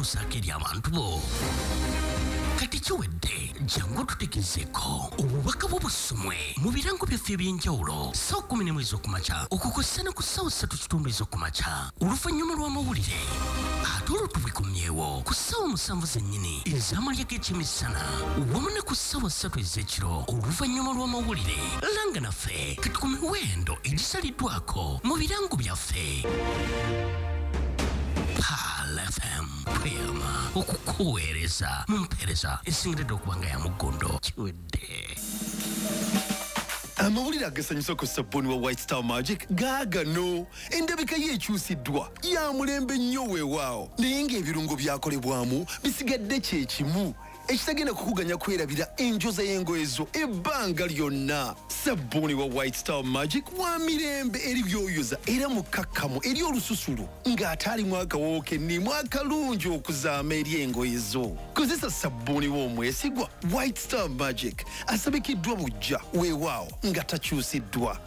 okutuusaako eri abantu bo. Kati kiwedde, jangu otutegezeeko obubaka bwo busomwe mu birango byaffe eby'enjawulo ssaawa 11 ez'okumakya okukossa ne ku ssaawa 3:15 ez'okumakya oluvannyuma lw'amawulire, ate olwo tubikomyewo ku ssaawa 7 zennyini ez'amalya g'ekyemisana wamu ne ku ssaawa 3 ez'ekiro oluvannyuma lw'amawulire. Langa naffe kati ku miwendo egisaliddwako mu birango byaffe. Pearl FM tweyama okukuweereza mu mpeereza esingiridde okuba nga ya muggondo. Kiwedde. Amawulire agasanyusa ku sabbuuni wa White Star Magic gaagano. Endabika ye ekyusiddwa, ya mulembe nnyo weewaawo, naye ng'ebirungo byakolebwamu bisigadde kye kimu, ekitagenda kukuganya kwerabira enjoza y'engoye zo ebbanga lyonna. Sabbuuni wa White Star Magic wa mirembe eri by'oyoza era mukkakkamu eri olususu lwo, ng'ate alimu akawoowo k'enniimu akalungi okuzaama eri engoye zo. Kozesa sabbuuni w'omwesigwa White Star Magic, asabikiddwa buggya weewaawo nga takyusiddwa.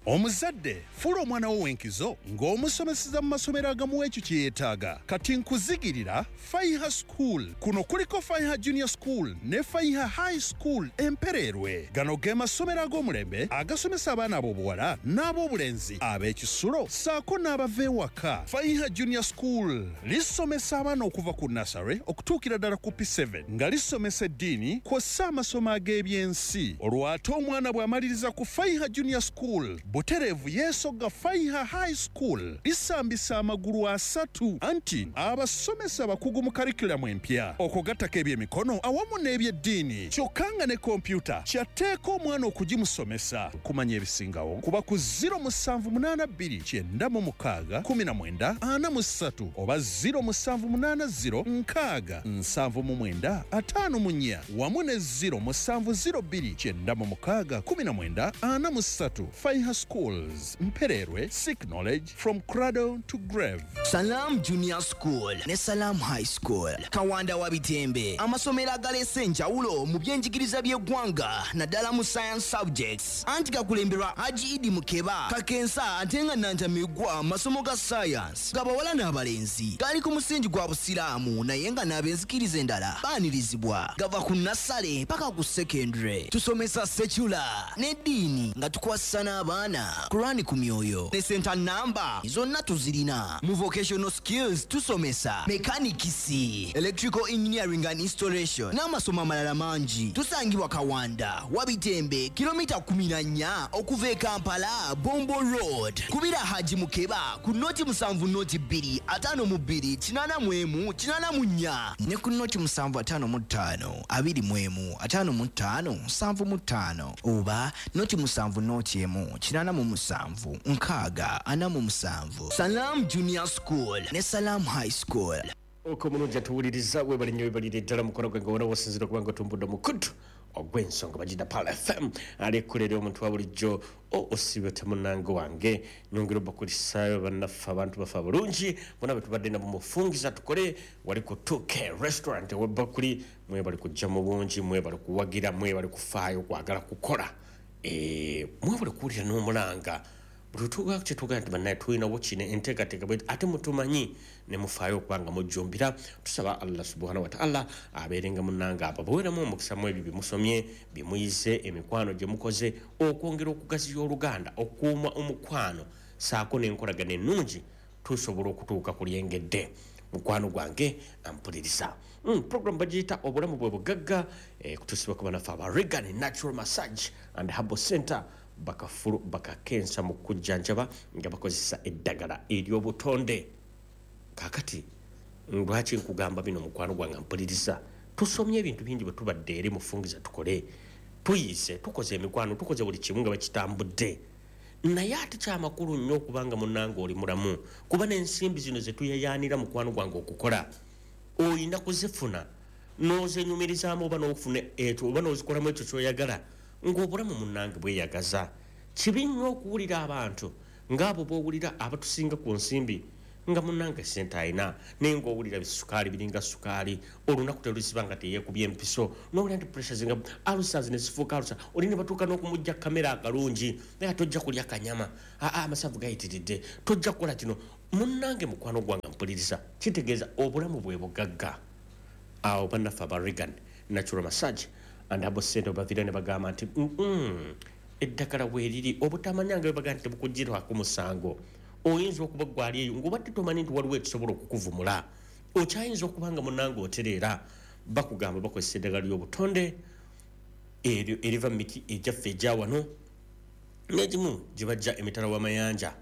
Omuzadde, fuula omwana wo w'enkizo ng'omusomeseza mu masomero agamuwa ekyo kye yeetaaga. Kati nkuzigirira Faiha School. Kuno kuliko Faiha Junior School ne Faiha High School e Mpereerwe. Gano ge masomero ag'omulembe agasomesa abaana ab'obuwala n'ab'obulenzi ab'ekisulo ssaako n'abava ewaka. Faiha Junior School lisomesa abaana okuva ku nursery okutuukira ddala ku P7 nga lisomesa eddiini kw'ossa amasomo ag'ebyensi. Olwo ate omwana bw'amaliriza ku Faiha Junior School butereevu yeesogga Faiha High School lisambisa amagulu asatu anti abasomesa bakugu mu curriculum empya okwo gattako ebyemikono awamu n'ebyeddiini kyokka nga ne kompyuta kyatteeka omwana okugimusomesa. Okumanya ebisingawo kuba ku 0782 96 19 43 oba 0780 60 79 54 wamu ne 0702 96 19 43. Faiha Schools, Mpereerwe, seek knowledge from cradle to grave. Salam Junior School ne Salam High School, Kawanda wa Bitembe, amasomero agaleese enjawulo mu byenjigiriza by'eggwanga naddala mu science subjects, anti gakulemberwa Haji Idi Mukeba Kakensa ate nga Nantamigwa masomo ga science gabawala n'abalenzi. Gali ku musingi gwa Busiraamu naye nga n'abenzikiriza endala baanirizibwa. Gava ku nassale paka ku secondary. Tusomesa secular n'eddiini nga tukwasisa n'abaana Kurani ku myoyo ne center number zonna tuzirina. Mu vocational skills tusomesa mechanics, electrical engineering and installation n'amasomo amalala mangi. Tusangibwa Kawanda, Wabitembe, kilomita 14 okuva e Kampala, Bombo Road. Kubira Haji Mukeba ku 0 7 02 52 81 84 ne ku 0 7 55 21 55 75 oba 0 7 0 1 87 60 47. Salam Junior School ne Salam High School. Oko omulungi atuwuliriza, webale nnyo, webalire ddala mukono gwe nga wona wosinzira okuba nga otumbudde omukutu ogw'ensonga bagida Pearl FM alikulera omuntu wa bulijjo osiibwe temunange wange. Nyongera obakulisaayo bannaffe, abantu baffe abulungi bonna betubadde nabo mufungiza tukole wali ku 2K Restaurant ewebakuli. Mwebali kujja mu bungi, mwebali kuwagira, mwebali kufaayo kwagala kukola, mwebali kuwulira n'omulanga buli tuga kyetugamba nti bannaye tulinawo kino enteekateeka bwe ate mutumanyi ne mufaayo okuba nga mujjumbira. Tusaba Allah subhanahu wataala abeerenga munnange ababuweremu omukisa mu ebyo byemusomye, byemuyize, emikwano gye mukoze, okwongera okugaziya oluganda, okukuuma omukwano saako n'enkolagana ennungi, tusobola okutuuka ku lyengedde. Mukwano gwange ampuliriza, program bagiyita Obulamu bwe Bugagga, kutuusibwa ku banaffe aba Regan Natural Massage and Herbal Center, bakafulu bakakensa mu kujjanjaba nga bakozesa eddagala ery'obutonde. Kakati lwaki nkugamba bino, mukwano gwange mpuliriza? Tusomye ebintu bingi bwe tubadde eri mufungiza tukole, tuyize, tukoze emikwano, tukoze buli kimu nga bakitambudde, naye ate kyamakulu nnyo okubanga munnange oli mulamu, kuba n'ensimbi zino zetuyayaanira, mukwano gwange, okukola oyina kuzifuna n'ozenyumirizaamu oba n'ofuna ekyo oba n'ozikolamu ekyo kyoyagala ng'obulamu munnange bweyagaza. Kibi nnyo okuwulira abantu ng'abo b'owulira abatusinga ku nsimbi, nga munnange sente alina naye ng'owulira bisukaali biringa sukaali, olunaku teruziba nga teyeekubye empiso, n'owulira nti pressure zinga ulcers ne zifuuka ulcer, oli ne batuuka n'okumujja kamera akalungi, naye tojja kulya kanyama, aa amasavu gayitiridde, tojja kukola kino. Munnange mukwano gwange mpuliriza, kitegeeza obulamu bwe bugagga. Awo bannaffe aba Reagan Natural Massage and Herbal Center baviira ne bagamba nti eddagala weeriri, obutamanya nga bwe bagamba nti tebukugirwako musango. Oyinza okuba gwali eyo ng'obadde tomanyi nti waliwo ekisobola okukuvumula, okyayinza okuba nga munnange otereera. Bakugamba bakozesa eddagala ly'obutonde eryo eriva mu miti egyaffe egya wano n'egimu gye bajja emitala w'amayanja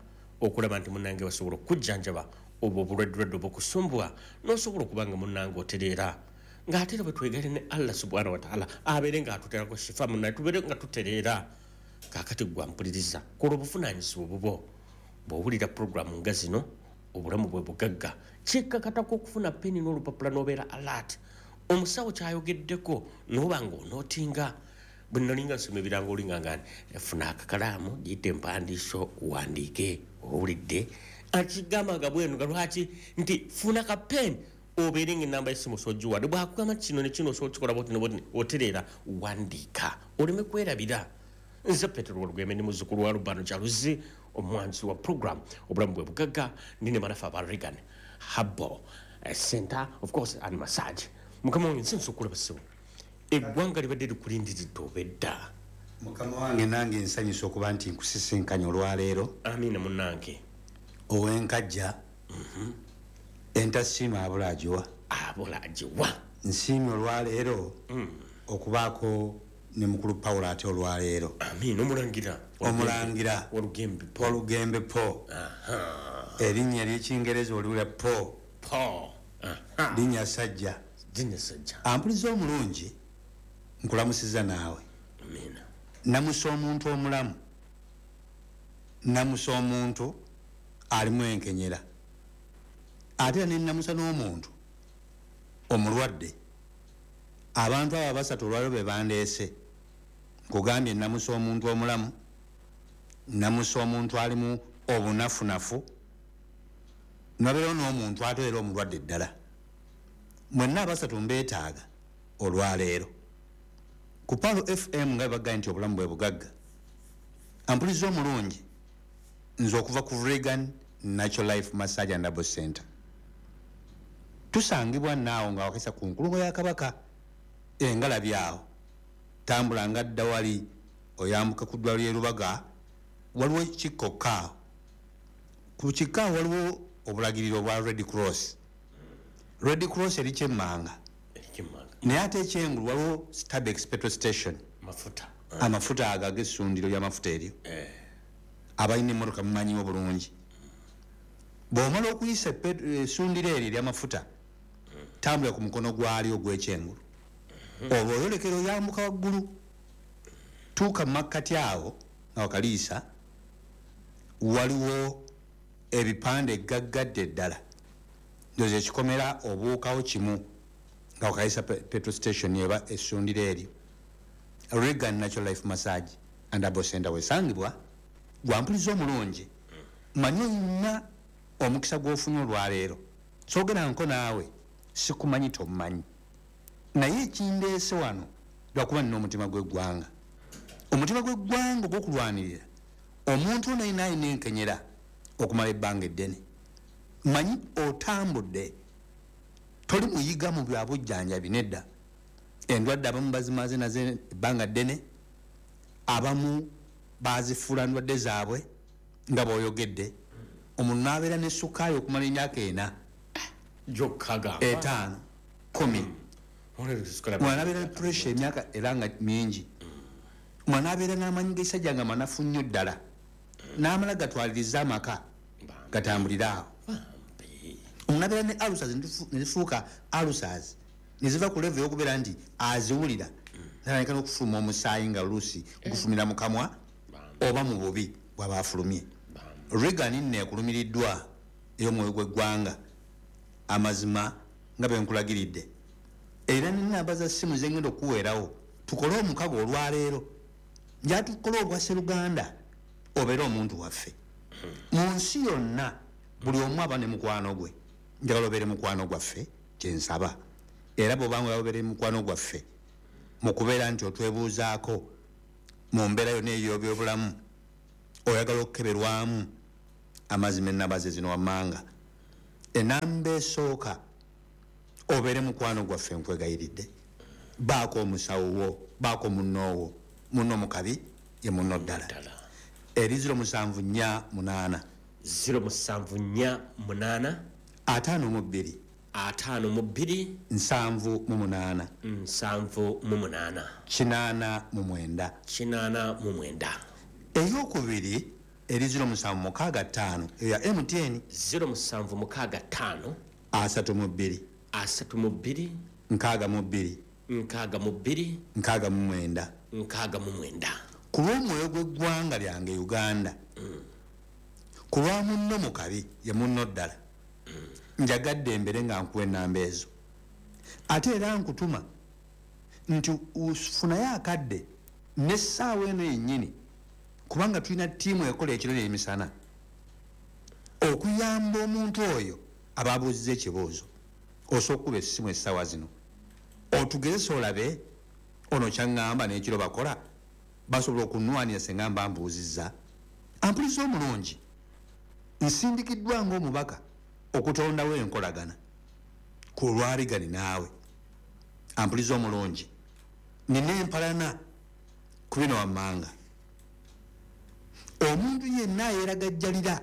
okulaba nti munnange basobola okukujjanjaba obwo obulwaddelwadde obukusumbwa n'osobola okuba nga munnange otereera. Ng'ate era bwe twegale ne Allah subhanahu wa ta'ala abeere ng'atuteerako shifa munnaye, tubeere nga tutereera. Kaakati ggwe ampuliriza, kola obuvunaanyizibwa bubwo. Bw'owulira puroguramu nga zino, obulamu bwe bugagga, kikkakatako okufuna peni n'olupapula n'obeera alert. Omusawo kyayogeddeko n'oba ng'onootinga. Bwe nalinga nsoma ebirango olinga nga funa akakalaamu, giyite empandiiso, wandiike, owulidde. Akigamba nga bweno nga lwaki nti funa ka peni obeere ng'ennamba y'essimu osobola ogiwa. Bw'akugamba kino ne kino osobola okukikola bw'oti ne bw'oti, otereera, wandiika oleme kwerabira. Nze Petero Walugembe ndi muzzukulu wa Lubano Kyaluzi, omwanzi wa program Obulamu Bwe Bugagga. Ndi ne bannaffe aba Reagan Herbal Center of course and Massage. Mukama wange, nsi nsobola ssebo, eggwanga libadde likulindiridde obedda. Mukama wange, nange nsanyusa okuba nti nkusisinkanye olwaleero. Amiina munnange. Ow'enkajja entasiima abula agiwa. Abula agiwa. Nsiimye olwaleero okubaako ne mukulu Pawulo ate olwaleero. Amiina. Omulangira. Omulangira. Walugembe Po. Walugembe Po. Erinnya ery'ekingereza oliwulira Po. Po. Linnya sajja. Linnya sajja. Ampuliza omulungi, nkulamusiza naawe. Amiina. Namusa omuntu omulamu, namusa omuntu alimu enkenyera, ate era nenamusa n'omuntu omulwadde. Abantu abo abasatu olwaleero be bandeese. Nkugambye, namusa omuntu omulamu, namusa omuntu alimu obunafunafu, nabeerawo n'omuntu ate era omulwadde ddala. Mwenna abasatu mbeetaaga olwaleero ku Palo FM nga bebagambye nti obulamu bwe bugagga. Ampuliza omulungi, nze okuva ku Reagan Natural Life Massage and Herbal Center, tusangibwa naawo nga wakesa ku nkulungo ya Kabaka engalabi awo. Tambula nga dda wali oyambuka ku ddwaliro ly'e Lubaga, waliwo kikkokka awo. Ku kikka awo waliwo obulagiriro obwa Red Cross. Red Cross eri kyemmanga, naye ate ekyengulu waliwo Stabex petrol station. Mafuta. Amafuta ago ag'essundiro ly'amafuta eryo, abalina emmotoka mumanyiwo bulungi. Bw'omala okuyisa essundiro eryo ery'amafuta, tambula ku mukono gwalyo ogw'ekyengulu, olwo oyolekera oyambuka waggulu, tuuka mu makkati awo nga wakaliisa, waliwo ebipande gaggadde ddala. Ndoza ekikomera obuukawo kimu nga wakaliisa petrol station eba essundiro eryo, Reagan Natural Life Massage and Herbal Center wesangibwa. Gwampuliza omulungi, manyi olina omukisa gw'ofunye olwaleero. Soogera nko naawe, sikumanyi, tomumanyi, naye ekindeese wano lwakuba nina omutima gw'eggwanga, omutima gw'eggwanga ogw'okulwanirira omuntu ono ayina alina enkenyera okumala ebbanga eddene. Manyi otambudde, toli muyiga mu bya bujjanjabi nedda. Endwadde abamu bazimaze nazo ebbanga ddene, abamu bazifuula ndwadde zaabwe nga bw'oyogedde. Omuntu n'abeera ne sukaali okumala emyaka 4, gyokka gamba 5, 10. Omwana abeera ne pressure emyaka era nga mingi. Omwana abeera n'amanyi g'ekisajja nga manafu nnyo ddala, n'amala gatwaliriza amaka gatambulire awo. Omuntu abeera ne ulcers ne zifuuka ulcers ne ziva ku level ey'okubeera nti aziwulira, natandika n'okufuluma omusaayi nga oluusi gufulumira mu kamwa oba mu bubi bw'aba afulumye. Reagan nno ekulumiriddwa ey'omwoyo gw'eggwanga, amazima nga bwe nkulagiridde, era nenamba za ssimu zengenda okuweerawo tukole omukago olwaleero. Njala tukole obwa sseruganda, obeere omuntu waffe mu nsi yonna. Buli omu aba ne mukwano gwe, njagala obeere mukwano gwaffe, kyensaba. Era bw'obanga obeere mukwano gwaffe mu kubeera nti otwebuuzaako mu mbeera yonna ey'ebyobulamu, oyagala okukeberwamu, Amazima ennamba ze zino wammanga. Enamba esooka, obeere mukwano gwaffe, nkwegayiridde, baako omusawo wo, baako munnoowo, munno mu kabi ye munno ddala. Eri 0748, 0748, 52, 52, 78, 78, 89. 89. Eyokubiri eri 0765, eyo ya MTN. 0765, 32, 32, 62, 62, 69. 69. Ku lw'omwoyo gw'eggwanga lyange Uganda, ku lwa munno mu kabi ye munno ddala, njagadde embere nga nkuwa ennamba ezo. Ate era nkutuma nti funayo akadde n'essaawa eno yennyini, kubanga tulina ttiimu ekola ekiro n'emisana okuyamba omuntu oyo aba abuuzizza ekibuuzo. Osobola okukuba essimu essaawa zino otugezese, olabe ono kyaŋŋamba n'ekiro bakola, basobola okunwanira senga mba mbuuzizza. Ampuliza omulungi, nsindikiddwa ng'omubaka okutondawo enkolagana ku lwaligani naawe. Ampuliza omulungi, nina empalana ku bino wammanga. Omuntu yenna ayeeragajjalira,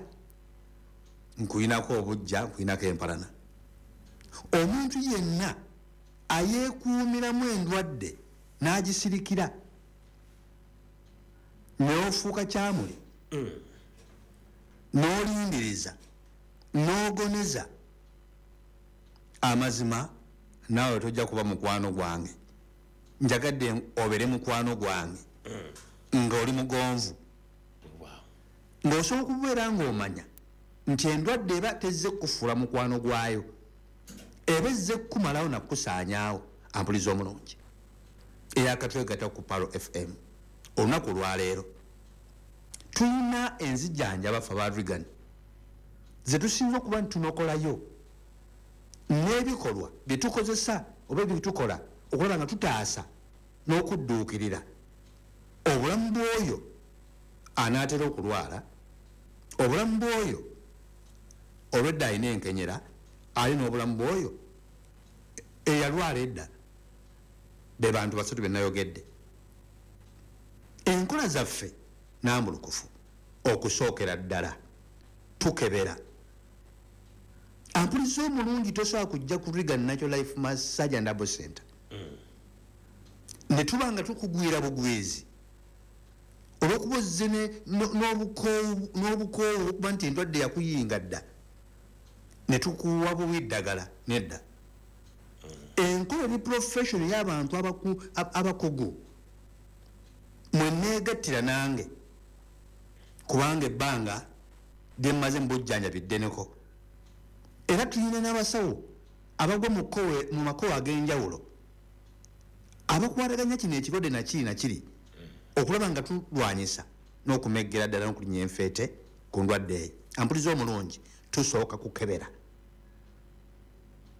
nkuyinako obujja, nkuyinako empalana. Omuntu yenna ayeekuumiramu endwadde n'agisirikira n'ofuuka kyamuli, n'olindiriza, n'ogoneza, amazima naawe tojja kuba mukwano gwange. Njagadde obeere mukwano gwange ng'oli mugonvu, ng'osobola okubeera ng'omanya nti endwadde eba tezze kukufuula mukwano gwayo, eba ezze kukumalawo nakukusaanyaawo. Ampuliza omulungi, eyakatwegatta ku Palo FM olunaku olwaleero, tulina enzijanjaba ffe aba Regan ze tusinza okuba nti tunokolayo n'ebikolwa bye tukozesa oba ebitukola okulaba nga tutaasa n'okudduukirira obulamu bw'oyo anaatera okulwala, obulamu bw'oyo olwedda alina enkenyera, ali n'obulamu bw'oyo eyalwala edda. Be bantu basatu be nayogedde. Enkola zaffe nambulukufu. Okusookera ddala tukebera. Ampuliza omulungi, tosobola kujja ku Regan Natural Life Massage and Herbal Center ne tuba nga tukugwira bugwizi olwokuba ozze n'obukoowu okuba nti endwadde yakuyinga dda ne tukuwa buwi ddagala. Nedda, enkola eri profession y'abantu abakugu mweneegattira nange, kubanga ebbanga lyemmaze mu bujjanjabi ddeneko, era tulina n'abasawo abagwa mu makowe ag'enjawulo abakwataganya kino ekirwadde nakiri nakiri okulaba nga tulwanyisa n'okumeggera ddala n'okulinnya enfeete ku ndwadde eyo. Ampuliza omulungi, tusooka kukebera.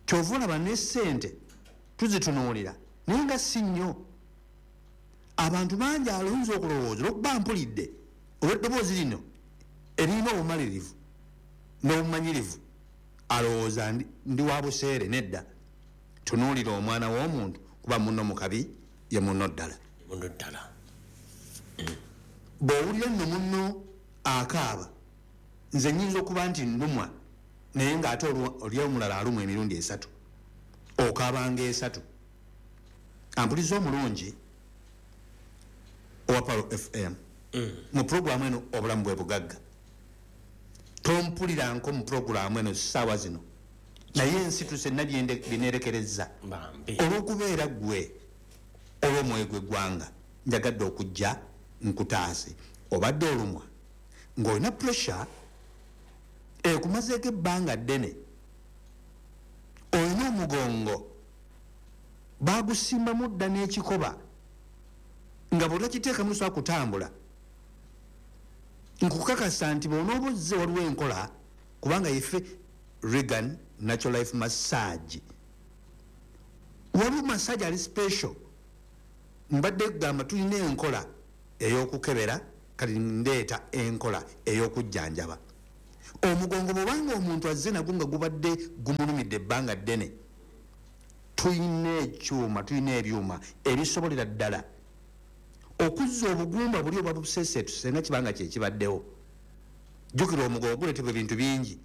Kyova olaba ne ssente tuzitunuulira, naye nga si nnyo. Abantu bangi aluyinza okulowooza olwokuba mpulidde olw'eddoboozi lino eririna obumalirivu n'obumanyirivu, alowooza ndi wa buseere. Nedda, tunuulira omwana w'omuntu, kuba munno mu kabi ye munno ddala. Munno ddala. Bw'owulira nno munno akaaba, nze nnyinza okuba nti nnumwa, naye ng'ate oli omulala alumwa emirundi esatu, okaabanga esatu. Ampuliza omulungi owa Palo FM, mu puroguramu eno Obulamu Bwe Bugagga, tompuliranko mu puroguramu eno ssaawa zino, naye ensituse nna byeneerekereza olw'okubeera ggwe olw'omwoyo gw'eggwanga. Njagadde okujja nkutaase. Obadde olumwa ng'olina pressure ekumazeeko ebbanga ddene, olina omugongo bagusimbamu dda n'ekikoba nga bw'otakiteekamu tosobola kutambula, nkukakasa nti bw'onooba ozze waliwo enkola, kubanga yeffe Regan Natural Life Massage, waliwo massage ali special. Mbadde kugamba tulina enkola ey'okukebera, kati ndeeta enkola ey'okujjanjaba. Omugongo bwobanga omuntu azze nagwo nga gubadde gumulumidde ebbanga ddene, tulina ekyuma, tulina ebyuma ebisobolera ddala okuzza obugumba buli obwa buseseetu senga kibanga kyekibaddewo. Jjukira omugongo guleetebwa ebintu bingi.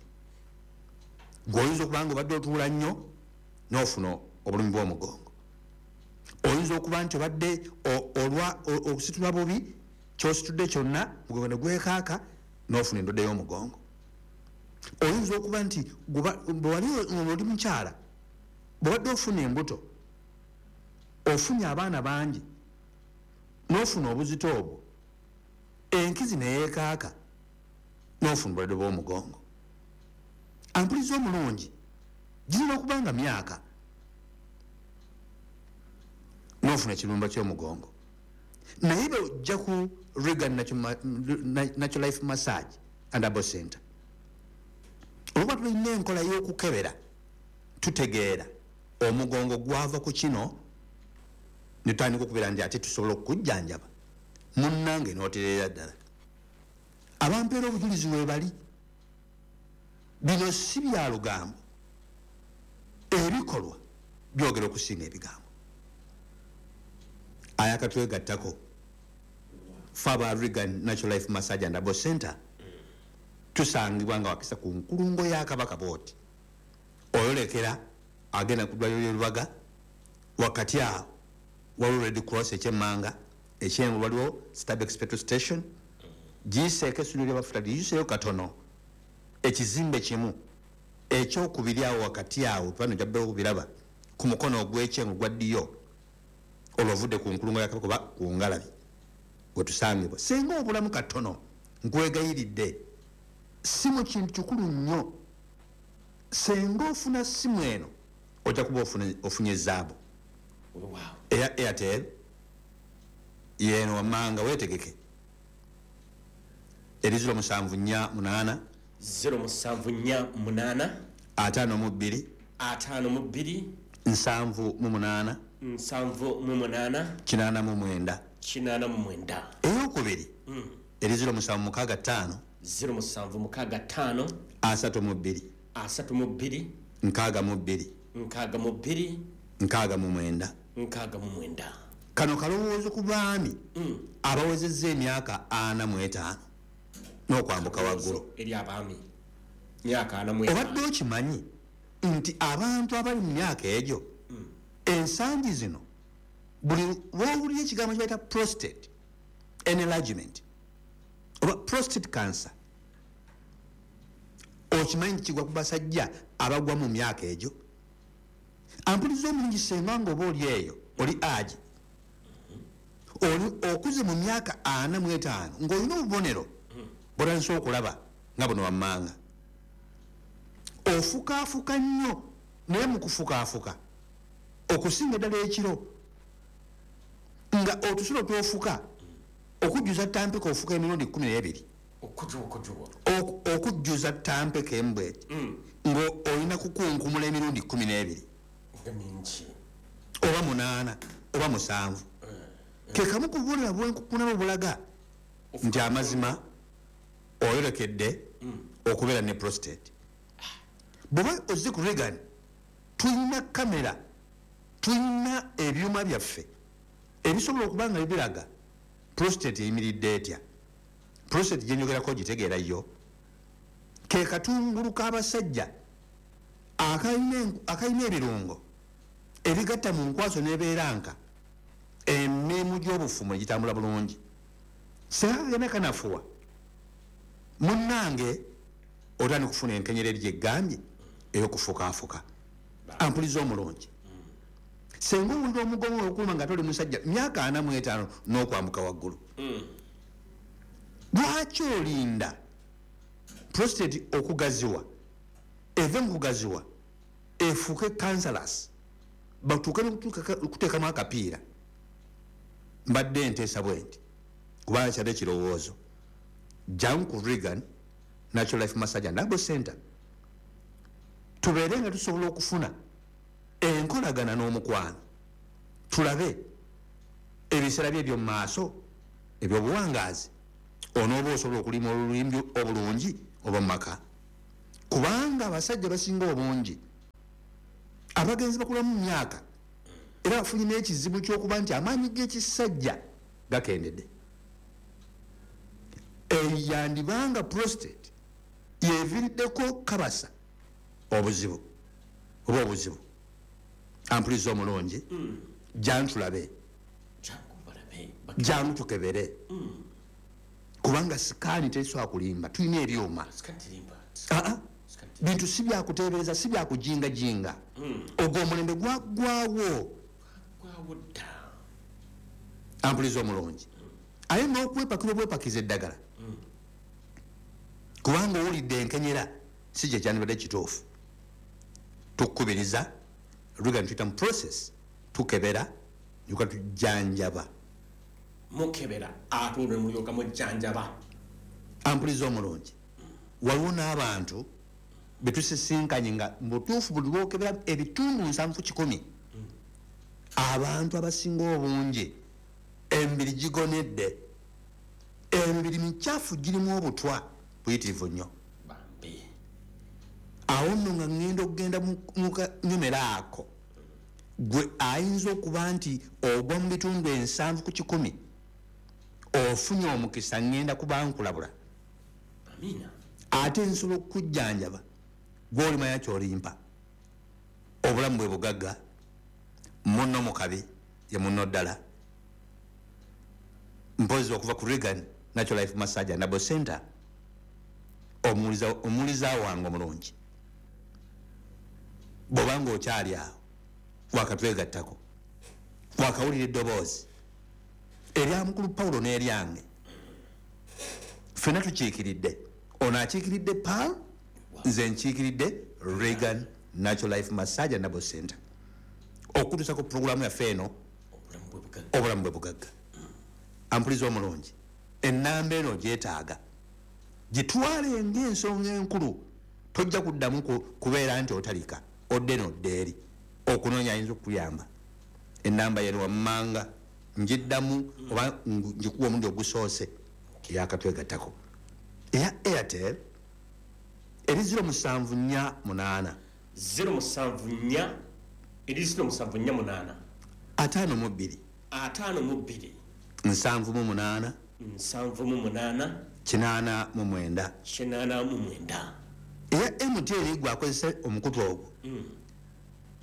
Gweoyinza okuba nga obadde otuula nnyo n'ofuna obulumi bw'omugongo. Oyinza okuba nti obadde okusitula bubi, kyositudde kyonna mugongo ne gwekaaka n'ofuna endwadde y'omugongo. Oyinza okuba nti bwewali oli mukyala, bw'obadde ofuna embuto, ofunye abaana bangi n'ofuna obuzito obwo, enkizi neyeekaaka n'ofuna obulwadde bw'omugongo. Ampuliza omulungi, girina okuba nga myaka n'ofuna ekirumba ky'omugongo. Naye bw'ojja ku Reagan Natural Life Massage and Herbal Center, olwokuba tulina enkola y'okukebera, tutegeera omugongo gwava ku kino, netutandika okubeera nti ate tusobola okukujjanjaba munnange n'otereera ddala. Abampeera obujulizi weebali. Bino si bya lugambo, ebikolwa byogera okusinga ebigambo. Ayakatwegattako fe aba Reagan Natural Life Massage and Herbal Center tusangibwa nga wakisa ku nkulungo ya Kabaka bw'oti, oyolekera agenda ku ddwaliro ly'e Lubaga, wakati awo waliwo Red Cross ekyemmanga, ekyengu waliwo Stabex petrol station, giyiseeko essundiro ly'amafuta liyiseeyo katono, ekizimbe kimu ekyokubiri awo wakati awo pano jabbe okubiraba ku mukono ogw'ekyengu gwa ddiyo, olwo ovudde ku nkulungo ya Kabaka oba ku ngalabi wetusangibwa. Singa obulamu katono, nkwegayiridde, simu kintu kikulu nnyo. Singa ofuna simu eno ojja kuba ofunye zaabu eya Airtel yeno wammanga, weetegeke. Eri 0748 0748 52 52 78 78 89 89. Eyokubiri eri 0765 0765 32 32 62 62 69. 69. Kano kalowoozo ku baami abawezezza emyaka 45 n'okwambuka waggulu. Eri abaami myaka 45. Obadde okimanyi nti abantu abali mu myaka egyo ensangi zino buli lw'owulira ekigambo kye bayita prostate enlargement oba prostate cancer, okimanyi nti kigwa ku basajja abagwa mu myaka egyo? Ampuliza omulungi, senga nga oba oli eyo oli agi oli okuze mu myaka 45 ng'olina obubonero bw'otandise okulaba nga buno wammanga, ofukaafuka nnyo, naye mu kufukaafuka okusinga ddala ekiro nga otusulo twofuka okujjuza tampeka ofuka emirundi 12. Okujjuza tampeka embweti ng'olina kukunkumula emirundi 12 oba 8 oba 7. Ke kamu ku bubonero bwenkukunala obulaga nti amazima oyolekedde okubeera ne prostate. Bw'oba ozze ku Reagan, tulina kamera, tulina ebyuma byaffe ebisobola okuba nga bibiraga prostate eyimiridde etya. Prostate gyenjogerako ogitegeera yo, ke katungulu k'abasajja akalina ebirungo ebigatta mu nkwaso n'ebeera nka emirimu gy'obufumu egitambula bulungi. Singa kagenda kanafuwa munnange, otandika okufuna enkenyera eri gyegambye ey'okufukaafuka. Ampuliza omulungi, senga owulira omugongo okuluma nga toli musajja myaka 45 n'okwambuka waggulu, lwaki olinda prostate okugaziwa, eve mu kugaziwa efuuke cancerous, batuuke n'okuteekamu akapiira? Mbadde nteesa bwe nti, kubanga kyadde ekirowoozo, jangu ku Reagan Natural Life Massage and Herbal Center tubeere nga tusobola okufuna enkolagana n'omukwano, tulabe ebiseera bye eby'omu maaso ebyobuwangaazi, onooba osobola okulima olulimbi obulungi oba mu maka. Kubanga abasajja basinga obungi abagenzi bakula mu myaka era bafunye n'ekizibu ky'okuba nti amaanyi g'ekisajja gakendedde. Eyandibanga prostate yeviiriddeko kabasa obuzibu oba obuzibu. Ampuliza omulungi, jantulabe, jangu tukebere, kubanga sikaani tesobola kulimba, tulina ebyuma. Bintu si byakuteebereza, si byakujingajinga. Ogwo omulembe gwaggwawo. Ampuliza omulungi, aye n'okwepakira obwepakiza eddagala kubanga owulidde enkenyera si kye kyandibadde kituufu. Tukubiriza Regan tuyita mu process, tukebera yuka tujjanjaba. Mukebera ate olwo mulyoka mujjanjaba. Ampuliza omulungi, waliwo n'abantu betusisinkanye nga mubutuufu buli lwokebera ebitundu 70 abantu abasinga obungi emibiri gigonedde, emibiri mikyafu girimu obutwa buyitirivu nnyo. Awo nno nga ŋŋenda okugenda mu kanyomero ako, gwe ayinza okuba nti ogwa mu bitundu 70 ofunye omukisa, ŋŋenda kuba nkulabula. Ate nsobola okukujjanjaba gw'olimanya ky'olimpa. Obulamu bwe bugagga, munno mu kabi ye munno ddala. Mpozi okuva ku Regan Natural Life Massage and Herbal Center, omuwuliza wange omulungi, bw'obanga okyali awo wakatwegattako, wakawulira eddoboozi erya mukulu Paulo n'eryange, ffenna tukiikiridde. Ono akiikiridde Paul, nze nkiikiridde Regan Natural Life Massage and Herbal Center, okutuusa ku pulogulaamu yaffe eno obulamu bwe bugagga. Ampuliza omulungi, ennamba eno gyetaaga gitwale ng'ensonga enkulu, tojja kuddamu kubeera nti otalika odde n'odde eri okunoonya ayinza okukuyamba. Ennamba yeno wammanga njiddamu oba ngikuwa omulundi ogusoose eyakatwegattako eya Airtel eri 0748 074 eri 0748 52 52 78 78 89 89. Eya MTN gwe akozesa omukutu ogwo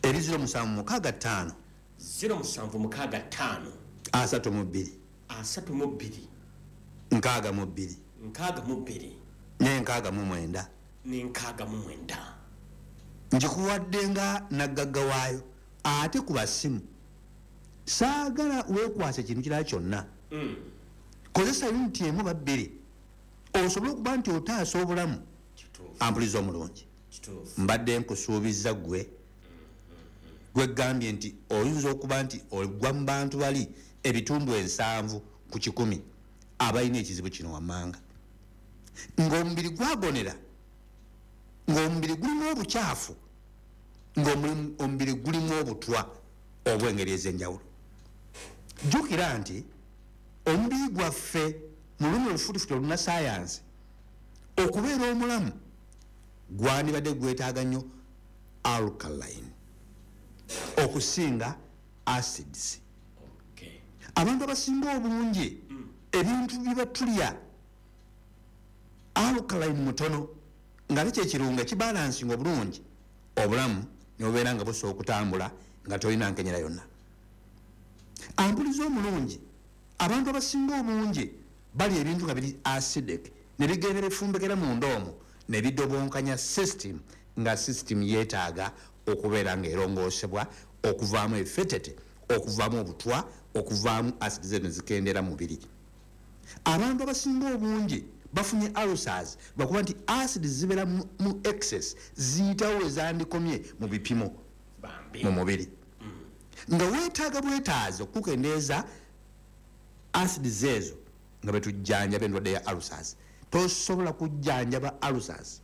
eri 0765 0765 32 32 62 62 ne 69 ne 69. Njikuwadde nga naggagga waayo. Ate ku basimu saagala weekwasa ekintu kirala kyonna. Kozesa yuniti emu oba bbiri osobole okuba nti otaasa obulamu. Ampuliza omulungi, mbadde nkusuubiza ggwe gwegambye nti oyinza okuba nti ogwa mu bantu bali ebitundu 70 abalina ekizibu kino wammanga, ng'omubiri gwagonera, ng'omubiri gulimu obukyafu, ng'omubiri gulimu obutwa obw'engeri ez'enjawulo. Jjukira nti omubiri gwaffe mu lulimi olufutifuti olunnasayansi okubeera omulamu gwandibadde gwetaaga nnyo alkaline okusinga acids. Abantu abasinga obungi ebintu bye batulya alkaline mutono, nga ate kyekirungo ekibalansinga obulungi obulamu ne bubeera nga busobola okutambula nga tolina nkenyera yonna. Ampuliza omulungi, abantu abasinga obungi balya ebintu nga biri acidic ne bigenda bifumbekera munda omwo ne bidobonkanya system, nga system yeetaaga okubeera ng'erongoosebwa okuvaamu efetete, okuvaamu obutwa, okuvaamu acid zeno zikendera mubiri. Abantu abasinga obungi bafunye ulcers lwakuba nti acid zibeera mu excess, ziyitawo ezandikomye mu bipimo mu mubiri, nga weetaaga bwetaazi okukendeeza acid zeezo nga betujjanjaba endwadde ya ulcers. Tosobola kujjanjaba ulcers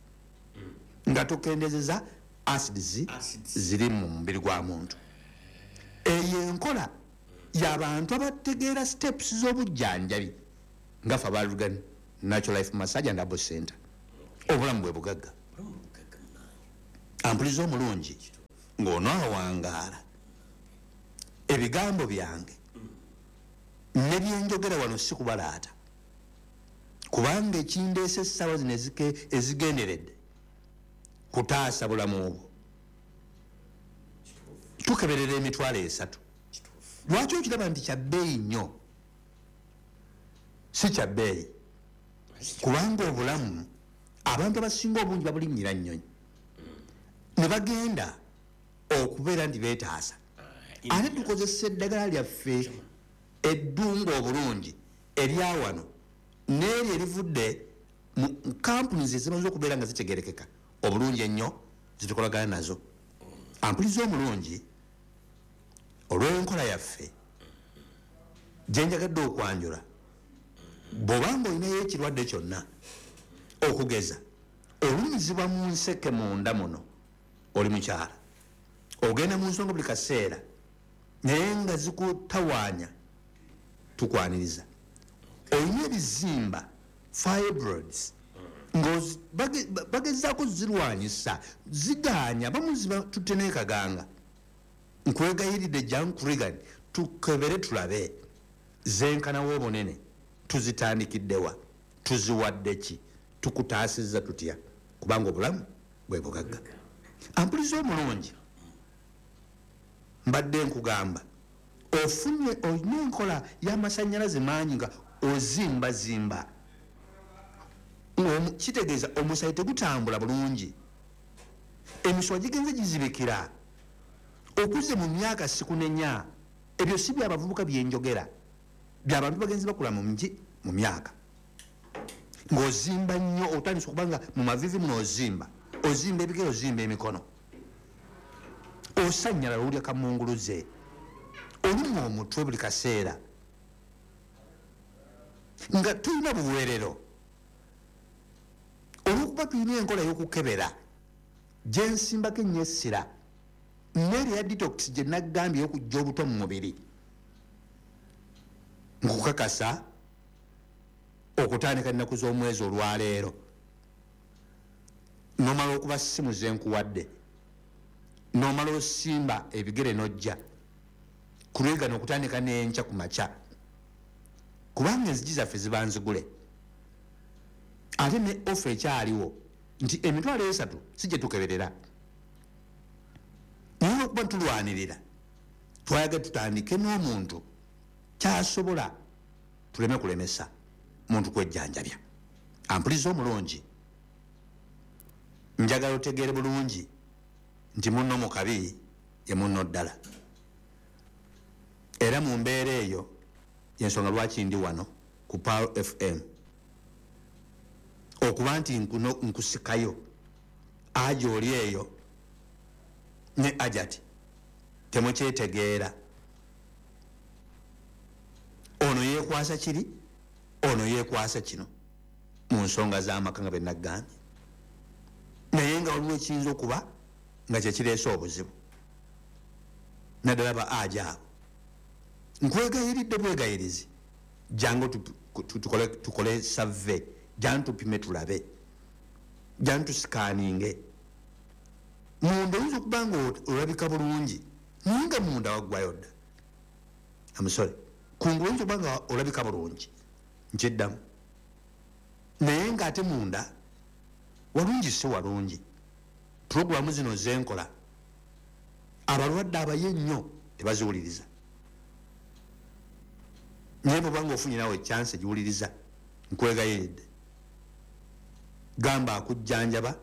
nga tokendeezeza acids ziri mu mubiri gwa muntu. Eyo enkola y'abantu abategeera steps z'obujjanjabi nga ffe aba Regan Natural Life Massage and Herbal Center. Obulamu bwe bugagga. Ampuliza omulungi, ng'onaawangaala, ebigambo byange ne byenjogera wano si kubalaata, kubanga ekindeese essaawa zino ezigenderedde kutaasa bulamu obwo. Tukeberera 30,000. Lwaki okiraba nti kya bbeeyi nnyo? Si kya bbeeyi, kubanga obulamu abantu abasinga obungi babulinnyira nnyonyi ne bagenda okubeera nti beetaasa. Ate tukozesa eddagala lyaffe eddungu obulungi erya wano n'eryo erivudde mu kampuni ezimaze okubeera nga zitegerekeka obulungi ennyo zitukolagana nazo. Ampuliza omulungi, olw'enkola yaffe gye njagadde okwanjula, bw'obanga olinayo ekirwadde kyonna, okugeza olumizibwa mu nseke munda muno, oli mukyala ogenda mu nsonga buli kaseera naye nga zikutawaanya, tukwaniriza. Olina ebizimba, fibroids, bagezaako zirwanyisa, zigaanya, bamuziba tutte n'ekaganga. Nkwegayiridde jangu Reagan tukebere tulabe zenkanawo obunene, tuzitandikiddewa, tuziwadde ki, tukutaasizza tutya, kubanga obulamu bwe bugagga. Ampuliza omulungi, mbadde nkugamba ofunye olina enkola y'amasannyalaze mangi nga ozimbazimba, kitegeeza omusaayi tegutambula bulungi, emisuwa gigenze gizibikira, okuze mu myaka sikunenya. Ebyo si byabavubuka byenjogera, byabantu bagenzi bakula mu myaka. Ng'ozimba nnyo, otandise okubanga mu mavivi muno ozimba, ozimba ebigere, ozimba emikono, osannyalala, owulya kamunguluze, olumwa omutwe buli kaseera, nga tulina buweerero. Olwokuba tulina enkola y'okukebera gyensimbako ennyo essira n'eri ya detox gye naggambye ey'okuggya obutwa mu mubiri, nkukakasa okutandika ennaku z'omwezi olwaleero nomala okuba simu zenkuwadde, nomala osimba ebigere n'ojja kulwegana okutandika n'enkya ku makya, kubanga enzigi zaffe ziba nzigule. Ate ne ofa ekyaliwo nti 30,000 si gye tukeberera, naye olwokuba tulwanirira twayagala tutandike n'omuntu kyasobola, tuleme kulemesa muntu kwejjanjabya. Ampuliza omulungi, njagala otegeere bulungi nti munno mu kabi ye munno ddala, era mu mbeera eyo yensonga lwaki ndi wano ku Pearl FM, okuba nti nkusikayo aja oli eyo ne ajati temukyetegeera, ono yeekwasa kiri, ono yeekwasa kino mu nsonga z'amaka nga bennagambye, naye nga waliwo ekiyinza okuba nga kyekireese obuzibu naddala ba aja abo. Nkwegayiridde bwegayirizi, jangu tukole survey, jangu tupime tulabe, jangu tusikaaninge. Munda oyinza okuba nga olabika bulungi naye nga munda waggwayo dda. Amusole kungulu oyinza okuba nga olabika bulungi, nkiddamu, naye ng'ate munda walungi si walungi. Puroguramu zino zenkola abalwadde abaye ennyo tebaziwuliriza, naye bw'oba ng'ofunye naawe chance egiwuliriza, nkwegayiridde gamba akujjanjaba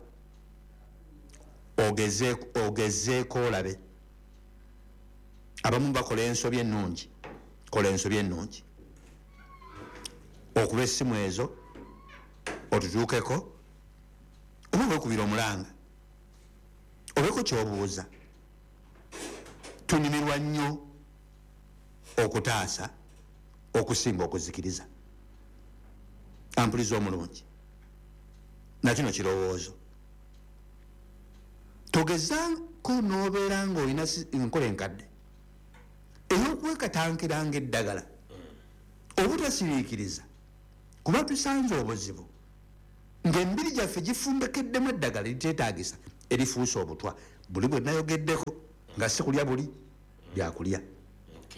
ogezeeko olabe. Abamu bakola ensobi ennungi, kola ensobi ennungi, okuba essimu ezo otutuukeko, oba weekubira omulanga obeeko ky'obuuza. Tunyumirwa nnyo okutaasa okusinga okuzikiriza. Ampuliza omulungi, nakino kirowoozo, togezaako n'obeera ng'olina enkola enkadde ey'okwekatankiranga eddagala obutasiriikiriza, kuba tusanze obuzibu ng'emibiri gyaffe gifumbekeddemu eddagala eriteetaagisa Erifuuse obutwa buli bwe nayogeddeko nga si kulya buli byakulya,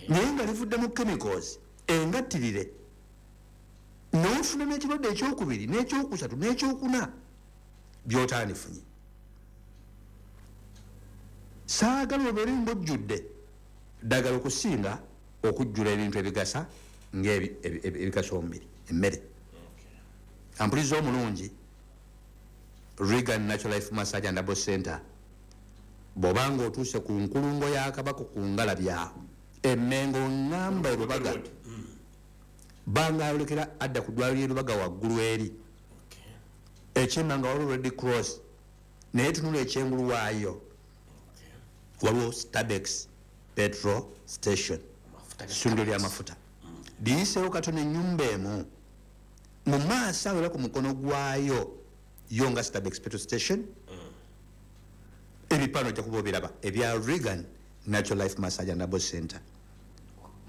naye nga livudde mu chemicals engattirire, n'ofuna n'ekirwadde ekyokubiri n'ekyokusatu n'ekyokuna by'otandifunye. Saagala obeere ng'ojjudde ddagala okusinga okujjula ebintu ebigasa ng'ebigasa omubiri, emmere. Ampuliza omulungi, Regan Natural Life Massage and Herbal Center, bw'obanga otuuse ku nkulungo ya Kabaka ku Ngalabya Emmengo, ŋŋamba Erubaga, banga ayolekera adda ku ddwaliro ly'e Lubaga waggulu eri ekyemmanga waliwo Red Cross, naye tunula ekyengulu waayo waliwo Stabex petrol station, ssundiro ly'amafuta. Liyiseewo katono ennyumba emu mu maaso awo era ku mukono gwayo yo nga Stabex petrol station, ebipano ojja kuba obiraba ebya Regan Natural Life Massage and Herbal Center,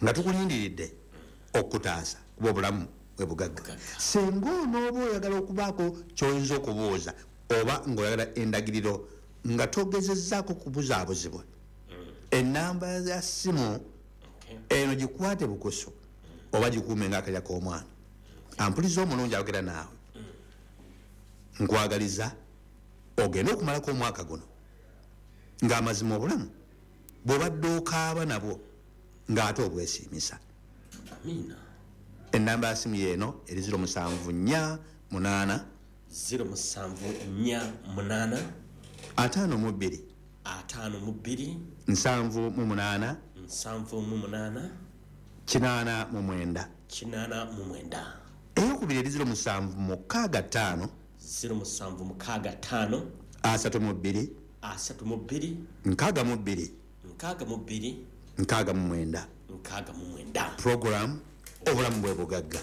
nga tukulindiridde okutaasa kuba obulamu bwe bugagga. Singa onooba oyagala okubaako ky'oyinza okubuuza oba ng'oyagala endagiriro nga togezezzaako kubuzaabuzibwa, ennamba ya ssimu eno gikwate bukusu oba gikuume ng'akalya k'omwana. Ampuliza omulungi ayogera naawe, nkwagaliza ogende okumalako omwaka guno ng'amazima obulamu bw'obadde okaaba nabwo ng'ate obwesiimisa. Amiina. Ennamba ya simu yeeno eri 0748 0748 52 52 78 78 89 89. Eyokubiri eri 0765 0765 32 32 62 62 69. 69. Program obulamu bwe bugagga,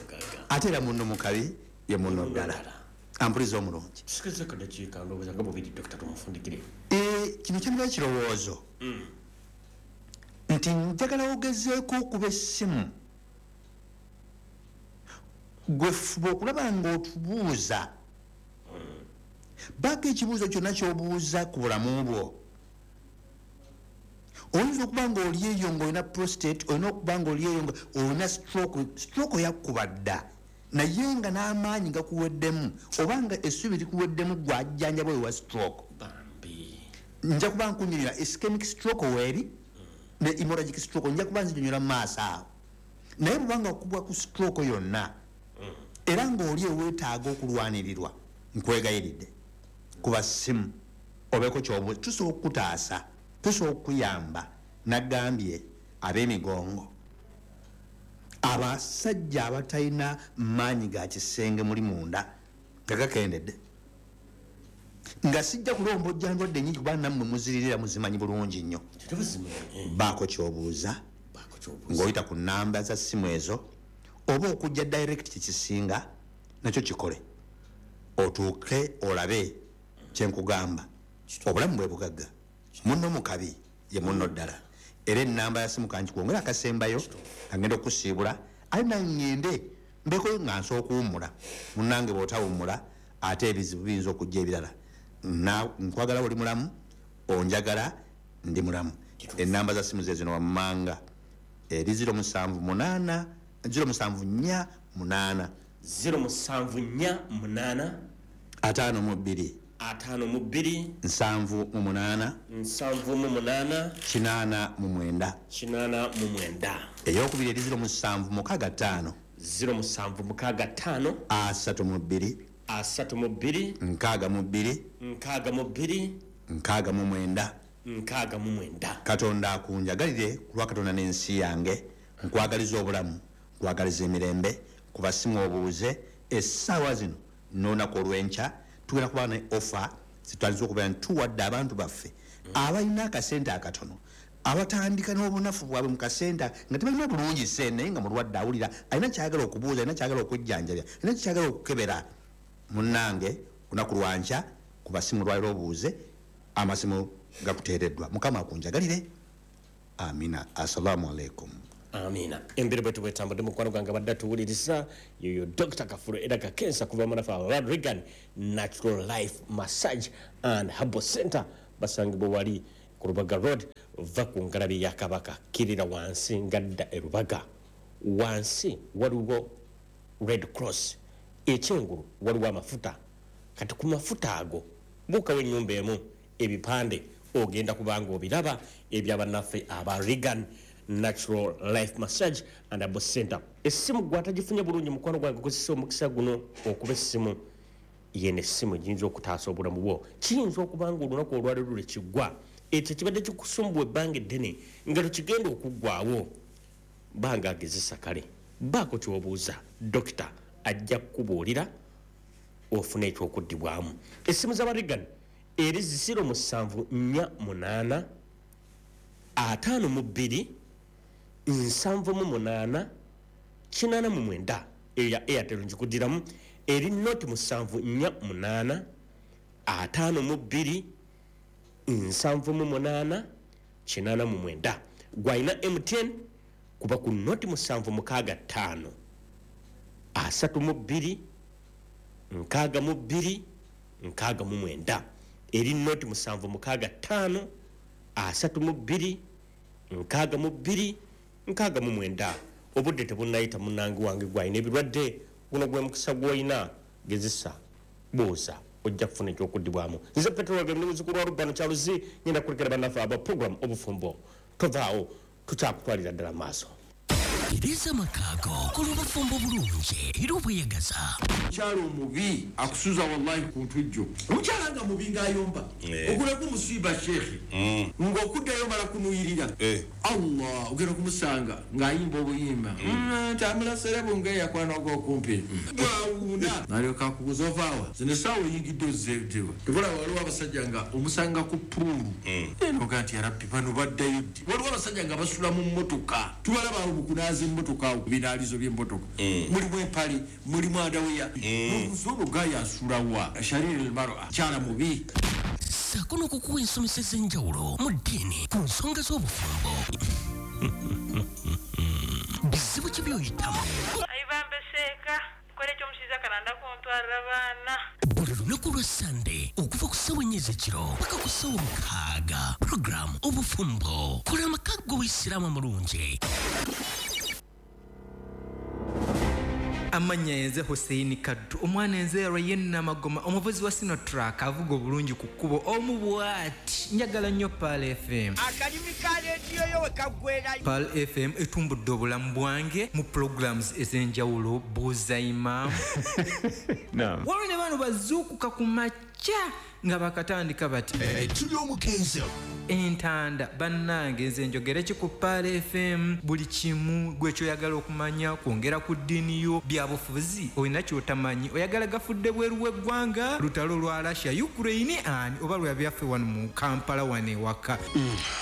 ate era munno mukabi ye munno ddala. Ampuliza omulungi, tusikirizeeko dakiika ndowooza nga bubiri, Dokita, tumufundikire. Kino kyaliba ekirowoozo nti njagala ogezeeko okuba essimu gwe fuba okulaba ng'otubuuza baako ekibuuzo kyonna ky'obuuza ku bulamu bwo. Oyinza okuba ng'oli eyo ng'olina prostate, olina okuba ng'oli eyo nga olina stroke, stroke yakkuba dda naye nga n'amaanyi gakuweddemu oba nga essuubi likuweddemu, gwajjanjaba oyo wa stroke. Bambi. Nja kuba nkunyonyola ischemic stroke weeri ne hemorrhagic stroke, nja kuba nzinyonyola mu maaso awo. Naye bw'obanga okubwa ku stroke yonna era ng'oli eweetaaga okulwanirirwa, nkwegayiridde kuba simu obeeko ky'obuuza, tusobola okukutaasa, tusobola okukuyamba. Nagambye ab'emigongo, abasajja abatalina maanyi ga kisenge muli munda nga gakendedde, nga sijja kulombojja ndwadde nnyingi kuba nammwe muziririra muzimanyi bulungi nnyo. Baako ky'obuuza ng'oyita ku nnamba za ssimu ezo oba okujja direct kyekisinga nakyo kikole otuuke olabe kyenkugamba. Obulamu bwe bugagga, munno mukabi ye munno ddala. Era ennamba ya simu kankikwongera akasembayo agenda okusiibula, ate nangende mbeko nga nsobola okuwummula. Munnange bw'otawummula ate ebizibu biyinza okujja ebirala. Nkwagala oli mulamu, onjagala ndi mulamu. Ennamba za simu ze zino wammanga eri 078 0748 0748 52 52 78 78 89 89. Eyokubiri eri 0765 0765 32 32 62 62 69. 69. Katonda akunjagalire ku lwa Katonda n'ensi yange. Nkwagaliza obulamu, nkwagaliza emirembe. Kuba simu obuuze essaawa zino n'olunaku olw'enkya tugenda kuba ne offer zitwaliza okubeera nti tuwadde abantu baffe abalina akasente akatono, abatandika n'obunafu bwabwe mu kasente nga tebalina bulungi ssente, naye nga mulwadde awulira alina kyayagala okubuuza, alina kyayagala okujjanjabya, alina kyayagala okukebera. Munnange, lunaku lwankya kuba simu lwaliro obuuze, amasimu gakuteereddwa. Mukama akunjagalire. Amina. Assalamu alaikum. Amina. Embeera bwe tubwetambudde, mukwano gwange abadde tuwuliriza yoyo Dr. Kafuro era Kakensa kuva munafe aba Regan Natural Life Massage and Herbal Center, basangibwa wali ku Rubaga Road, va ku ngalabi ya Kabaka, kirira wansi ngadda e Rubaga, wansi waliwo Red Cross, ekyengulu waliwo amafuta. Kati ku mafuta ago buukawo ennyumba emu, ebipande ogenda kubanga obiraba ebyabannaffe aba Regan Natural Life Massage and Herbal Center. Essimu gwatagifunye bulungi, mukwano gwange, kozesa omukisa guno okuba essimu yene, essimu giyinza okutaasa obulamu bwo. Kiyinza okuba nga olunaku olwaleero lwe kiggwa, ekyo kibadde kikusumbuwa ebbanga eddene nga tekigenda okuggwawo, banga agezesa kale baako kyobuuza dokita, ajja kukubuulira ofune ekyokuddibwamu. Essimu z'aba Regan eri 0748 52 78 89. Eyo ya Airtel, njikuddiramu, eri 0748 52 78 89. Gwalina MTN kuba ku 076 532 62 69. Eri 076 532 62 69. Obudde tebunnayita, munnange wange gwalina ebirwadde, guno gwe mukisa gw'olina, gezesa, buuza, ojja kufuna ekyokuddibwamu. Nze Petero ndi muzzukulu wa Rubano Kyaluzi, ngenda kulekera bannaffe aba program Obufumbo. Tovaawo, tukyakutwalira ddala maaso. Tereza amakaago, kola obufumbo bulungi era obweyagaza. Omukyala omubi akusuza wallahi ku ntujjo. Omukyala nga mubi ng'ayomba, ogulako musiiba sheekhe, ng'okuddayo mala kunuyirira. Allah, ogenda kumusanga ng'ayimba obuyimba tambula serebu ng'eyakwanako okumpi bwawuuna, nalyoka akubuza ovaawa zino essaawa oyingidde ozzeewa. Tebula waliwo abasajja nga omusanga ku puulu enoga nti yarabbi bano baddayo ddi. Waliwo abasajja nga basula mu mmotoka, tubalaba awo mu kunaaza emmotoka, awo ku binaalizo by'emmotoka, mulimu empale, mulimu andaweya, ono gaaya asulawa shariri almar'a, kyala mubi. Ssaako n'okukuwa ensomesa ez'enjawulo mu ddiini ku nsonga z'obufumbo. Bizibu ki by'oyitamu? Ayibambe seeka kola ekyomushiza kalanda kuntwarira abaana. Buli lunaku lwa Sande okuva ku ssaawa 4 ez'ekiro paka ku ssaawa 6, puroguramu Obufumbo, kola amaka g'Obuyisiraamu amulungi. Amannya yenze Hussein Kaddu, omwana enze Ryan Namagoma, omuvuzi wa Sinotruck avuga obulungi ku kkubo omu bw'ati. Njagala nnyo Pearl FM. Akalimi ka leediyo yo we kaggwerayo. Pearl FM etumbudde obulamu bwange mu programs ez'enjawulo, buuza imaamu. Waliwo ne bano bazuukuka ku makya nga bakatandika bati tuli omukenzo entanda. Bannange, nze njogere ki ku Pearl FM? Buli kimu gwe kyoyagala okumanya, kwongera ku ddiini yo, byabufuzi olina kyotamanyi, oyagala gafudde bweru w'eggwanga, lutalo lwa Russia Ukraine ani oba lwa byaffe wano mu Kampala wano ewaka.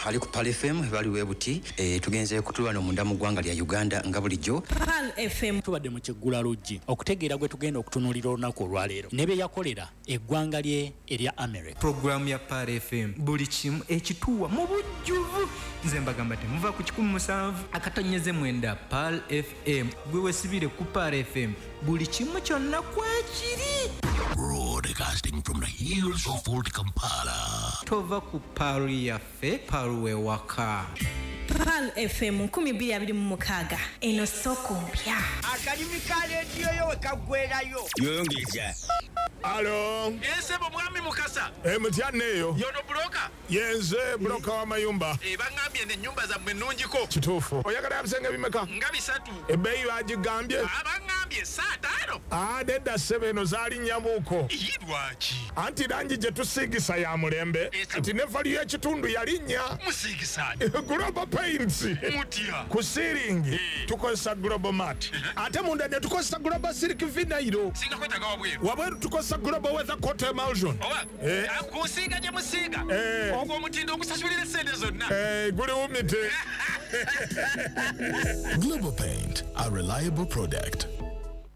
Ali ku Pearl FM baliwo buti, tugenze kutulwano munda mu ggwanga lya Uganda nga bulijjo. Pearl FM tubadde mu kiggula luggi okutegeera gwe tugenda okutunuulira olunaku olwaleero ne bye yakolera eggwanga lye erya America. Programu ya Pearl FM buli kimu ekituwa mu bujjuvu. Nze mbagamba temuva ku 107.9 Pearl FM. Gwe wesibire ku Pearl FM, buli kimu kyonna kwekiri. Broadcasting from the hills of Old Kampala. Tova ku Pearl yaffe, Pearl wewaka. Pearl FM 2026, eno soko mpya. Akalimi ka leediyo yo we kaggwerayo. Yongeza. Alo. Esebo mwami Mukasa. Mutya eyo. Yono broker. Yenze broker wa mayumba. Bangambye n'ennyumba zammwe nnungiko. Kituufu. Oyagala ebisenge bimeka? Nga 3. Ebbeeyi bagigambye? Abangambye 5. Nedda ssebo, eno zaali nnyamuuko. Lwaki? Anti langi gye tusiigisa ya mulembe. Kati ne valiyo y'ekitundu yalinnya. Musiigisa. Global Paints. Mutya. Ku siiringi tukozesa Global Mat. Ate munda ne tukozesa Global Silk Vinyl. Singa kwetaaga wabweru. Wabweru tukozesa Global Weather Coat Emulsion. Oba kusiiga gye musiiga. Ogwo omutindo ogusasulira essente zonna. Guli wumite. Global Paint, a reliable product.